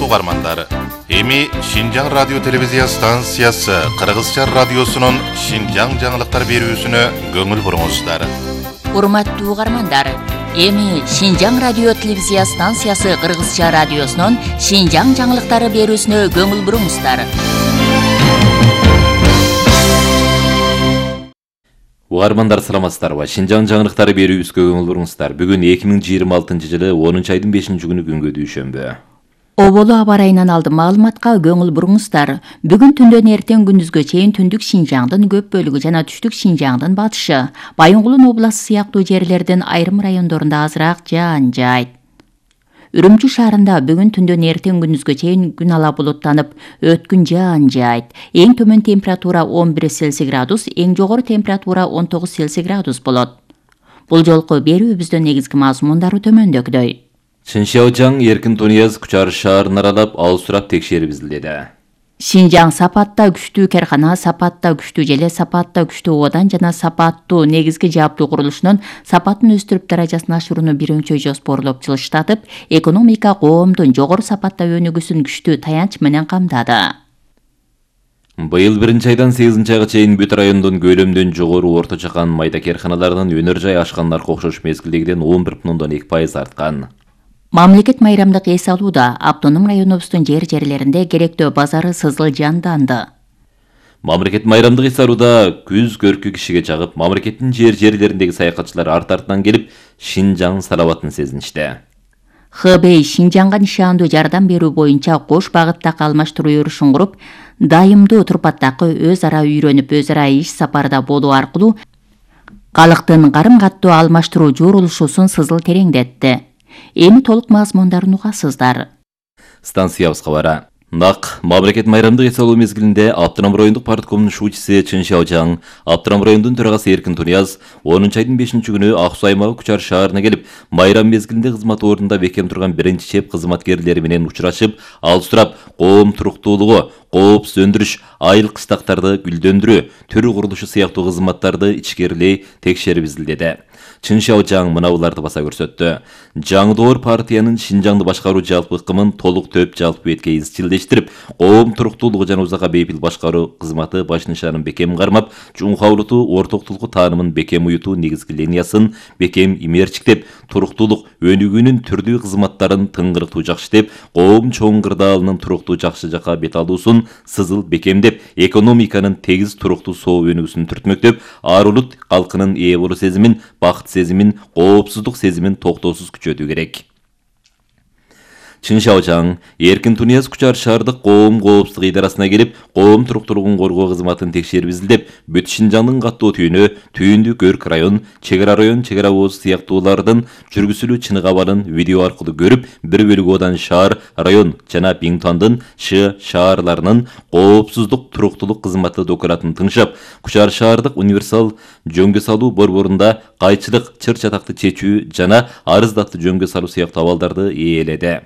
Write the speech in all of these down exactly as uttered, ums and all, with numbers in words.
урматтуу угармандар, эми Шинжаң радио телевизия станциясы Кыргызча радиосунун Шинжаң жаңылыктар берүүсүнө көңүл буруңуздар. Урматтуу угармандар, эми Шинжаң радио телевизия станциясы Кыргызча радиосунун Шинжаң жаңылыктары берүүсүнө көңүл буруңуздар. Угармандар саламатсыздарбы? Шинжаң жаңылыктары берүүбүзгө көңүл буруңуздар. Бүгүн эки миң жыйырма алтынчы жылы онунчу айдын бешинчи күнү күнгө дүйшөмбү. Оболу аба ырайынан алдым маалыматка көңүл буруңуздар. Бүгүн түндөн эртең күндүзгө чейин түндүк Шинжаңдын көп бөлүгү жана түштүк Шинжаңдын батышы, Байынгулун областы сыяктуу жерлердин айрым райондорунда азыраак жаан жаайт. Үрүмчү шаарында бүгүн түндөн эртең күндүзгө чейин күн ала булуттанып, өткүн жаан жаайт. Эң төмөн температура он бир Цельсий градус, эң жогору температура он тогуз Цельсий градус болот. Бул жолку берүүбүздүн негизги мазмундары төмөндөгүдөй. Чыншаожаң Эркин Тунияз Кучар шаарын аралап, ал сурап текшерип изилдеди. Шинжаң сапатта күчтүү керкана, сапатта күчтүү желе, сапатта күчтүү одан жана сапаттуу негизги жааптуу курулушунун сапатын өстүрүп даражасын ашырууну биринчи жоспорлоп жылыштатып, экономика коомдун жогору сапатта өнүгүүсүн күчтүү таянч менен камдады. Быйыл биринчи айдан сегизинчи айга чейин бүт райондон көлөмдөн жогору орто чакан майда керканалардын өнөр жай ашкандарга окшош мезгилдегиден он бир бүтүн ондон эки пайыз арткан. Мамлекет майрамдык эс алууда автоном районубуздун жер-жерлеринде керектөө базары сызыл жанданды. Мамлекет майрамдык эс алууда күз көркү кишиге жагып, мамлекеттин жер-жерлериндеги саякатчылар арт-артынан келип, Шинжаң салабатын сезиништи. Хбей Шинжаңга нишандуу жардам берүү боюнча кош багыттагы алмаштыруу өрүшүн куруп, дайымдуу турпаттагы өз ара үйрөнүп, өз ара иш сапарда болуу аркылуу калктын карым-каттуу алмаштыруу журулушусун сызыл тереңдетти. Эми толук мазмундарын угасыздар. Станциябызга бара. Нак мамлекет майрамдык эс алуу мезгилинде Аптырам райондук парткомдун шуучусу Чыншаожаң, Аптырам районунун төрагасы Эркин Тунияз онунчу айдын бешинчи күнү Ак Суу аймагы Кучар шаарына келип, майрам мезгилинде кызмат ордунда бекем турган биринчи чеп кызматкерлери менен учурашып, ал сурап, коом туруктуулугу, коопсуз өндүрүш, айыл кыштактарды гүлдөндүрүү, төр курулушу сыяктуу кызматтарды ичкерилей текшерип изилдеди. Чыншаожаң мынабуларды баса көрсөттү. Жаңдоор партиянын Шинжаңды башкаруу жалпы ыкымын толук төп жалпы бетке изчилдештирип, коом туруктуулугу жана узакка бейпил башкаруу кызматы баш нишанын бекем кармап, чуңкаулутуу ортоктулуку таанымын бекем уютуу негизги линиясын бекем имерчиктеп, туруктуулук өнүгүүнүн түрдүү кызматтарын тыңгырыктуу жакшытеп, коом чоң кырдаалынын туруктуу жакшы жакка бет алуусун сызыл бекемдеп, экономиканын тегиз туруктуу соо өнүгүүсүн түртмөктөп, ар улут калкынын ээ болуу сезимин, бакыт сезимин, коопсуздук сезимин токтоосуз күчөтүү керек. Чыншаожаң Эркин Тунияз Кучар шаардык коом коопсуздук идарасына келип, коом туруктуулугун коргоо кызматын текшерип изилдеп, бүт Шинжаңдын каттуу түйүнү, түйүндүк Өрк район, чек ара район, чек ара ооз сыяктуулардын жүргүзүлүү чынык абалын видео аркылуу көрүп, бір бөлүгү одан шаар, район жана Биңтуандын Ш шаарларынын коопсуздук туруктуулук кызматы документын тыңшап, Кучар шаардык универсал жөнгө салуу борборунда кайчылык, чыр чатакты чечүү жана арыздатты жөнгө салуу сыяктуу абалдарды ээледи.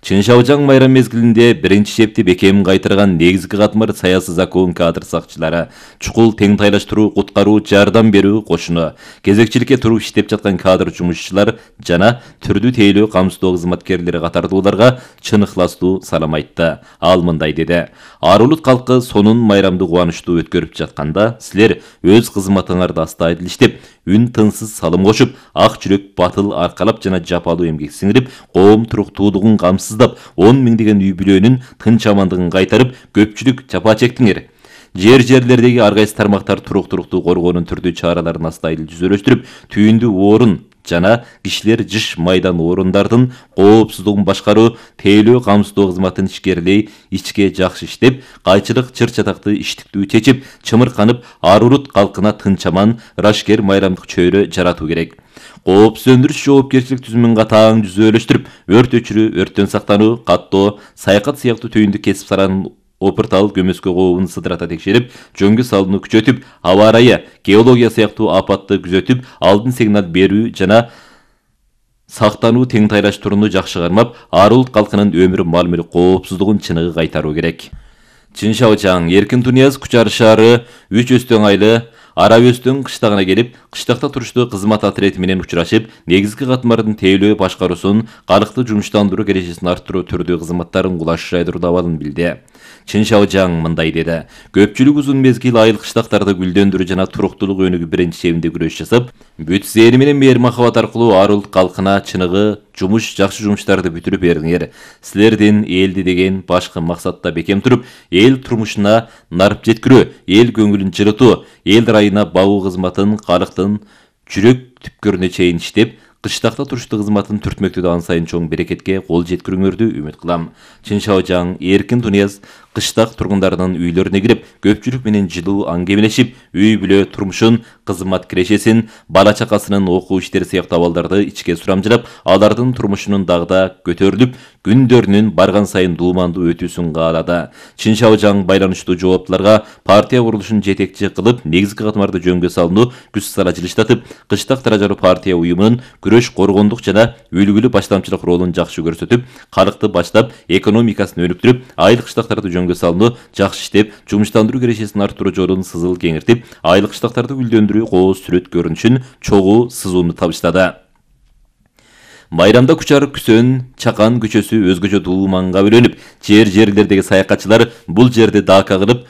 Чыншаожаң майрам мезгилинде биринчи чепти бекем кайтырган негизги катмар саясий закон кадр сакчылары, чукул тең тайлаштыруу, куткаруу, жардам берүү кошуну, кезекчиликке туруп иштеп жаткан кадр жумушчулар жана түрдүү тейлөө камсыздоо кызматкерлери катардууларга чын ыхластуу салам айтты. Ал мындай деди: Ар улут калкы сонун майрамды кубанычтуу өткөрүп жатканда, силер өз кызматыңарды астайдыл иштеп, үн тынсыз салым кошуп, ак жүрөк батыл аркалап жана жапалуу эмгек сиңирип, коом туруктуулугун камсыздап, он миңдеген үй бүлөнүн тынч амандыгын кайтарып, көпчүлүк жапа чектиңер. Жер-жерлердеги ар кайсы тармактар туруктуулукту коргоонун түрдүү чараларын астайдыл жүзөлөштүрүп, түйүндүү орун жана кишилер жыш майдан орундардын коопсуздугун башкаруу, тейлөө камсыздоо кызматын ичкерилей ичке жакшы иштеп, кайчылык, чыр чатакты иштиктүү чечип, чымырканып, ар улут калкына тынч аман, ырашкер майрамдык чөйрө жаратуу керек. Коопсуз өндүрүш жоопкерчилик түзүмүн катаң жүзөлөштүрүп, өрт өчүрүү, өрттөн сактануу, каттоо, саякат сыяктуу түйүндүк кесип саланын опыртал көмөскө кообун сыдырата текшерип, жөнгө салууну күчөтүп, аба ырайы, геология сыяктуу апатты күзөтүп, алдын сигнал берүү жана сактануу тең тайлаштырууну жакшы кармап, ар улут калкынын өмүр маал-мүлк коопсуздугун чыныгы кайтаруу керек. Чыншаожаң Эркин Тунияз Кучар шаары үч өстөң айлы Ара Өзтүн кыштагына келип, кыштакта туруштуу кызмат отряди менен учурашып, негизги катмардын тейлөө башкаруусун, калкты жумуштандыруу кережесин арттыруу түрдүү кызматтарын кулаш жайдыруу абалын билди. Чин Шаожаң мындай деди: көпчүлүк узун мезгил айыл кыштактарды гүлдөндүрүү жана туруктуулук өнүгүү биринчи чебинде күрөш жасап, бүт зээри менен мээр махабат аркылуу ар улут калкына чыныгы жумуш жакшы жумуштарды бүтүрүп бериңер. Силердин элди деген башкы максатта бекем туруп, эл турмушуна нарып жеткирүү, эл көңүлүн жылытуу, эл райына багуу кызматын калктын жүрөк түпкөрүнө чейин иштеп, кыштакта туруштуу кызматын түртмөктү ан сайын чоң берекетке кол жеткирүүңөрдү үмүт кылам. Чин Шаожаң Эркин Тунияз кыштак тургундарынын үйлөрүнө кирип, көпчүлүк менен жылуу аңгемелешип, үй бүлө турмушун, кызмат кирешесин, бала чакасынын окуу иштери сыяктуу абалдарды ичке сурамжылап, алардын турмушунун дагда көтөрүлүп, күндөрүнүн барган сайын дуумандуу өтүүсүн каалады. Чин Шаожаң байланыштуу жооптуларга партия курулушун жетекчи кылып, негизги катмарды жөнгө салууну күч сала жылыштатып, кыштак даражалуу партия уюмунун күрөш, коргондук жана үлгүлүү баштамчылык ролун жакшы көрсөтүп, калкты баштап, экономикасын өнүктүрүп, айыл кыштактарды жөнгө салууну жакшы иштеп, жумуштандыруу кережесин арттыруу жолун сызыл кеңиртип, айыл кыштактарды гүлдөндүрүү кооз сүрөт көрүнүшүн чогуу сызууну табыштады. Майрамда Кучар, Күсөн, Чакан көчөсү өзгөчө дууманга бөлөнүп, жер-жерлердеги саякатчылар бул жерде дака кылып,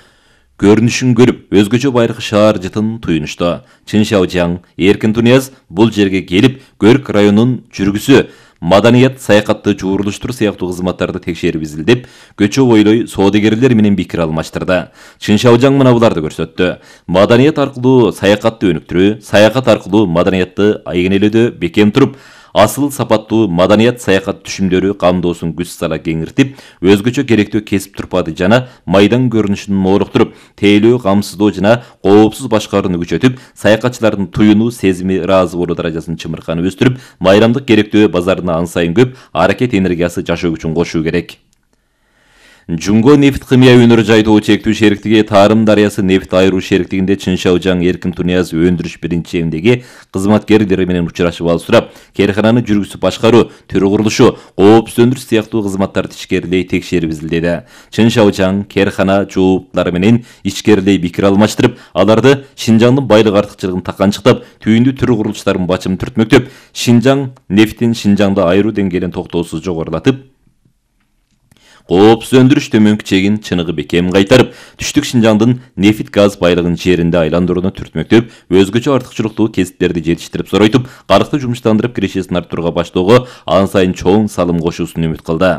көрүнүшүн көрүп, өзгөчө байыркы шаар жытын туюнушту. Чин Шаожаң Эркин Тунияз бул жерге келип, Көрк районунун жүргүсү, маданият, саякатты жуурулуштуруу сыяктуу кызматтарды текшерип изилдеп, көчө бойлой соодагерлер менен пикир алмаштырды. Чин Шаожаң мына буларды көрсөттү: маданият аркылуу саякатты өнүктүрүү, саякат аркылуу маданиятты айгинелөөдө бекем туруп, асыл сапаттуу маданият саякат түшүмдөрү камдоосун күч сала кеңиртип, өзгөчө керектүү кесип турпады жана майдан көрүнүшүн моолуктуруп, тейлөө, камсыздоо жана коопсуз башкарууну күчөтүп, саякатчылардын туюнуу сезими, ыраазы болуу даражасын чымырканы өстүрүп, майрамдык керектөө базарына ан сайын көп аракет энергиясы жашоо күчүн кошуу керек. Жунго нефт химия өнөрү жайдоо чектүү шериктиги Тарым дарыясы нефт айыруу шериктигинде Чин Шаожаң Эркин Тунияз өндүрүш биринчи чебиндеги кызматкерлери менен учурашып алып сурап, керкананы жүргүзүп башкаруу, төр курулушу, коопсуздандыруу сыяктуу кызматтарды ичкерилей текшерип изилдеди. Чин Шаожаң керкана жооптулары менен ичкерилей пикир алмаштырып, аларды Шинжаңдын байлык артыкчылыгын таканчыктап, түйүндүү төр курулуштардын бачымын түртмөктөп, Шинжаң нефтин Шинжаңда айыруу деңгээлин токтоосуз жогорулатып, коопсуз өндүрүш төмөнкү чегин чыныгы бекем кайтарып, түштүк Шинжаңдын нефт газ байлыгын жеринде айландырууну түртмөктөп, өзгөчө артыкчылыктуу кесиптерди жетиштирип соройтуп, калкты жумуштандырып кирешесин арттырууга баштоого ан сайын чоң салым кошуусун үмүт кылды.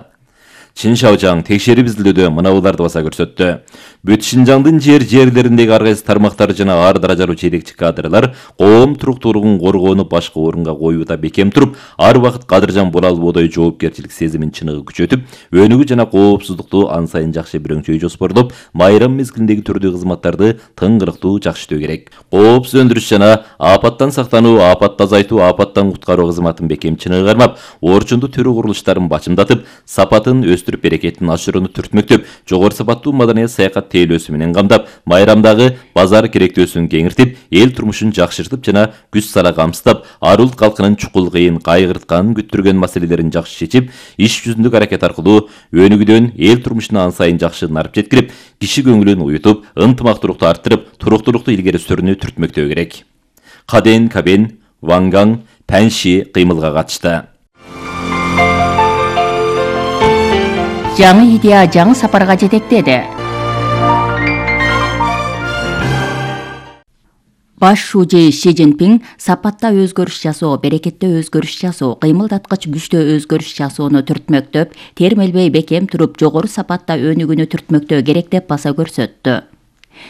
Чин Шаожаң текшерип изилдөөдө мына буларды баса көрсөттү: бүт Шинжаңдын жер-жерлериндеги ар кайсы тармактар жана ар даражалуу жетекчи кадрлар коом туруктуулугун коргоону башкы орунга коюуда бекем туруп, ар убакыт кадыржан була албоодой жоопкерчилик сезимин чыныгы күчөтүп, өнүгүү жана коопсуздукту ан сайын жакшы бирөңчөй жоспорлоп, майрам мезгилиндеги түрдүү кызматтарды тыңгырыктуу жакшытөө керек. Коопсуз өндүрүш жана апаттан сактануу, апатты азайтуу, апаттан куткаруу кызматын бекем чыныгы кармап, орчундуу төрү курулуштарын бачымдатып, сапатын өстүрүп берекетин ашырууну түртмөктөп, жогору сапаттуу маданият саякат тейлөөсү менен камдап, майрамдагы базар керектөөсүн кеңиртип, эл турмушун жакшыртып жана күч сала камсыздап, ар улут калкынын чукул кыйын, кайгырткан, күттүргөн маселелерин жакшы чечип, иш жүзүндүк аракет аркылуу өнүгүүдөн эл турмушуна ан сайын жакшы нарып жеткирип, киши көңүлүн уютуп, ынтымактуулукту арттырып, туруктуулукту илгери сүрүүнү түртмөктөө керек. Каден Кабен, Вангаң, Панши кыймылга катышты. Жаңы идея жаңы сапарга жетектеди. Баш шужи Ши Цзиньпин сапатта өзгөрүш жасоо, берекетте өзгөрүш жасоо, кыймылдаткыч күчтө өзгөрүш жасоону түртмөктөп, термелбей бекем туруп, жогору сапатта өнүгүүнү түртмөктөө керек деп баса көрсөттү.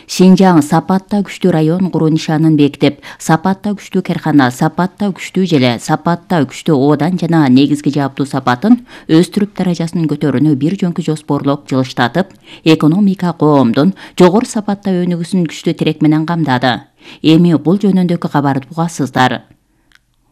Шинжаң сапатта күчтүү район куруу нишанын бекитип, сапатта күчтүү керкана, сапатта күчтүү желе, сапатта күчтүү оодан жана негизги жааптуу сапатын өстүрүп даражасын көтөрүүнү бир жөнкү жоспорлоп жылыштатып, экономика коомдун жогору сапатта өнүгүүсүн күчтүү тирек менен камдады. Эми бул жөнүндөгү кабарды угасыздар.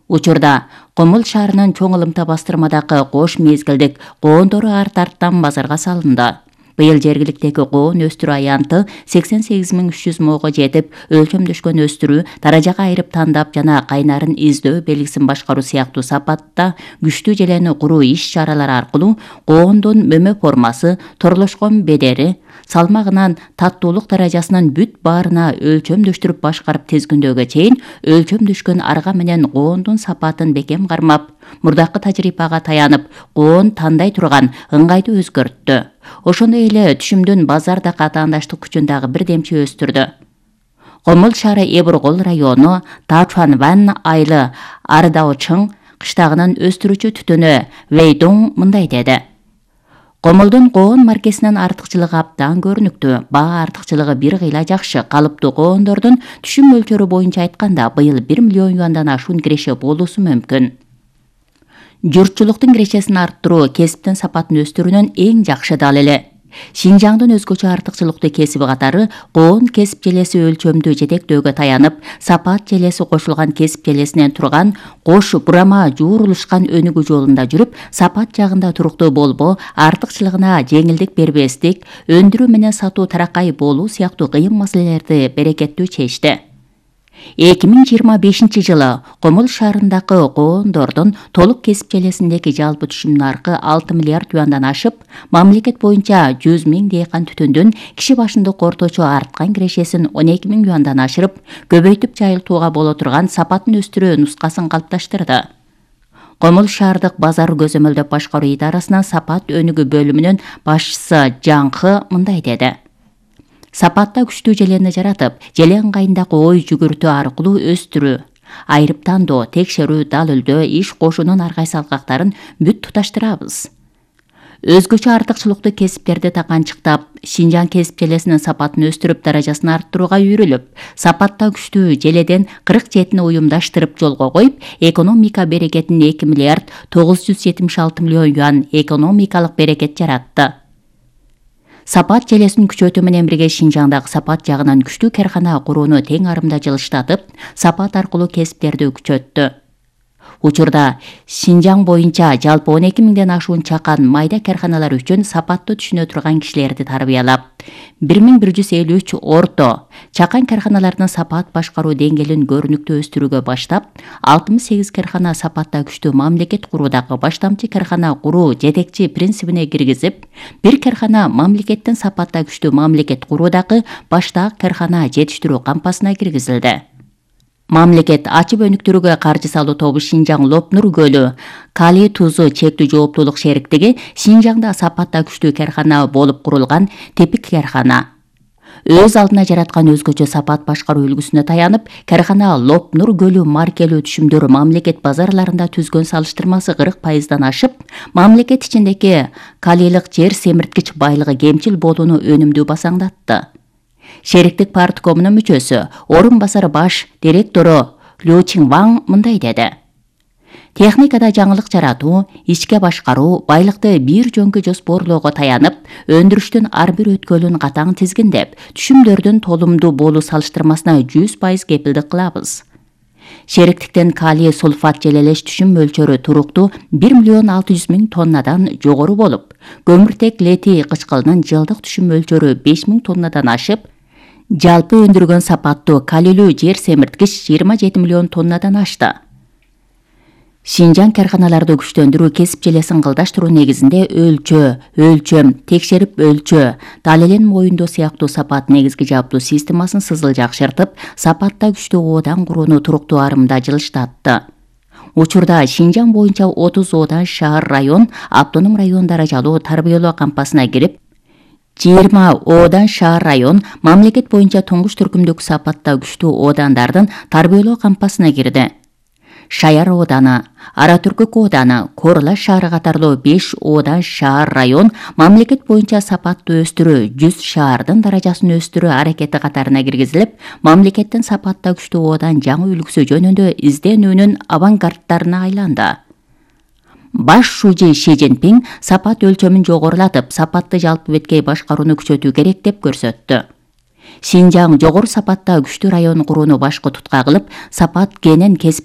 Учурда Комул шаарынын чоң ылымта бастырмадагы кош мезгилдик коондору арт-арттан базарга салынды. Быйыл жергиликтеги коон өстүрүү аянты сексен сегиз миң үч жүз мыңга жетип, өлчөмдөшкөн өстүрүү, даражага айырып тандап жана кайнарын издөө, белгисин башкаруу сыяктуу сапатта күчтүү желени куруу иш чаралары аркылуу коондун мөмө формасы, торлошкон бедери, салмагынан, таттуулук даражасынан бүт баарына өлчөмдөштүрүп башкарып тезгүндөөгө чейин өлчөмдөшкөн арга менен коондун сапатын бекем кармап, мурдакы тажрыйбага таянып, коон тандай турган ыңгайды өзгөрттү. Ошондой эле түшүмдүн базарда катаандаштык күчүн дагы бирдемче өстүрдү. Комул шаары Эбургол району Тачуанван айылы Ардаочың кыштагынан өстүрүүчү түтүнү Вейдоң мындай деди. Комулдун коон маркесинин артыкчылыгы абдан көрүнүктүү. Баа артыкчылыгы бир кыйла жакшы. Калыптуу коондордун түшүм мөлчөрү боюнча айтканда быйыл бир миллион юандан ашуун киреше болуусу мүмкүн. Журтчулуктун кирешесин арттыруу кесиптин сапатын өстүрүүнүн эң жакшы далили. Шинжаңдын өзгөчө артыкчылыктуу кесиби катары коон кесип желеси өлчөмдүү жетектөөгө таянып, сапат желеси кошулган кесип желесинен турган кош бурама жуурулушкан өнүгүү жолунда жүрүп, сапат жагында туруктуу болбоо, артыкчылыгына жеңилдик бербестик, өндүрүү менен сатуу таракай болуу сыяктуу кыйын маселелерди берекеттүү чечти. эки миң жыйырма бешинчи жылы Комул шаарындагы коондордун толук кесип желесиндеги жалпы түшүм наркы алты миллиард юандан ашып, мамлекет боюнча жүз миң дейкан түтүндүн киши башындык орточо арткан кирешесин он эки миң юандан ашырып, көбөйтүп жайылтууга боло турган сапатын өстүрүү нускасын калыпташтырды. Комул шаардык базар көзөмөлдөп башкаруу идарасынын сапат өнүгүү бөлүмүнүн башчысы Жаңкы мындай деди. Сапатта күчтүү желени жаратып, желе ыңгайындагы ой жүгүртүү аркылуу өстүрүү, айрып тандоо, текшерүү, дал үлдөө, иш кошуунун ар кайсы алкактарын бүт туташтырабыз. Өзгөчө артыкчылыктуу кесиптерди таканчыктап, Шинжаң кесип желесинин сапатын өстүрүп, даражасын арттырууга үйрүлүп, сапатта күчтүү желеден кырк жетини уюмдаштырып жолго коюп, экономика берекетин эки миллиард тогуз жүз жетимиш алты миллион юан экономикалык берекет жаратты. Сапат желесин күчөтүү менен бирге Шинжаңдагы сапат жагынан күчтүү кархана курууну тең арымда жылыштатып, сапат аркылуу кесиптерди күчөттү. Учурда Шинжаң боюнча жалпы он эки миңден ашуун чакан майда карханалар үчүн сапатты түшүнө турган кишилерди тарбиялап, бир миң бир жүз элүү үч орто чакан карханалардын сапат башкаруу деңгээлин көрүнүктүү өстүрүүгө баштап, алтымыш сегиз кархана сапатта күчтүү мамлекет куруудагы баштамчы кархана куруу жетекчи принцибине киргизип, бир кархана мамлекеттин сапатта күчтүү мамлекет куруудагы баштаак кархана жетиштирүү кампасына киргизилди. Мамлекет ачып өнүктүрүүгө каржы салуу тобу Шинжаң Лопнур көлү калий тузу чектүү жооптуулук шериктиги Шинжаңда сапатта күчтүү кархана болуп курулган типик кархана. Өз алдына жараткан өзгөчө сапат башкаруу үлгүсүнө таянып, кархана Лопнур көлү маркелүү түшүмдөр мамлекет базарларында түзгөн салыштырмасы кырк пайыздан ашып, мамлекет ичиндеги калийлык жер семирткич байлыгы кемчил болууну өнүмдүү басаңдатты. Шериктик парткомунун мүчөсү, орун басары баш директору Лю Чинваң мындай деди. Техникада жаңылык жаратуу, ичке башкаруу, байлыкты бир жөнкө жоспорлоого таянып, өндүрүштүн ар бир өткөлүн катаң тизгиндеп, түшүмдөрдүн толумдуу болуу салыштырмасына жүз пайыз кепилдик кылабыз. Шериктиктен калий сульфат желелеш түшүм мөлчөрү туруктуу бир миллион алты жүз миң тоннадан жогору болуп, көмүртек летий кычкылынын жылдык түшүм мөлчөрү беш миң тоннадан ашып, жалпы өндүргөн сапаттуу калийлүү жер семирткич жыйырма жети миллион тоннадан ашты. Шинжаң карханаларды күчтөндүрүү кесип желесин кылдаштыруу негизинде өлчөө, өлчөм, текшерип өлчөө, далилин моюндоо сыяктуу сапат негизги жаптуу системасын сызыл жакшыртып, сапатта күчтүү оодан курууну туруктуу арымда жылыштатты. Учурда Шинжаң боюнча отуз оодан шаар район, автоном район даражалуу тарбиялоо кампасына кирип, жыйырма оодан шаар район мамлекет боюнча туңгуч түркүмдүк сапатта күчтүү оодандардын тарбиялоо кампасына кирди. Шаяр ооданы, Ара Түркүк ооданы, Корла шаары катарлуу беш оодан шаар район мамлекет боюнча сапатты өстүрүү, жүз шаардын даражасын өстүрүү аракети катарына киргизилип, мамлекеттин сапатта күчтүү оодан жаңы үлгүсү жөнүндө изденүүнүн авангардтарына айланды. Баш шужи Ши Цзиньпин сапат өлчөмүн жогорулатып, сапатты жалпы беткей башкарууну күчөтүү керек деп көрсөттү. Шинжаң жогору сапатта күчтүү район курууну башкы тутка кылып, сапат кенен кесип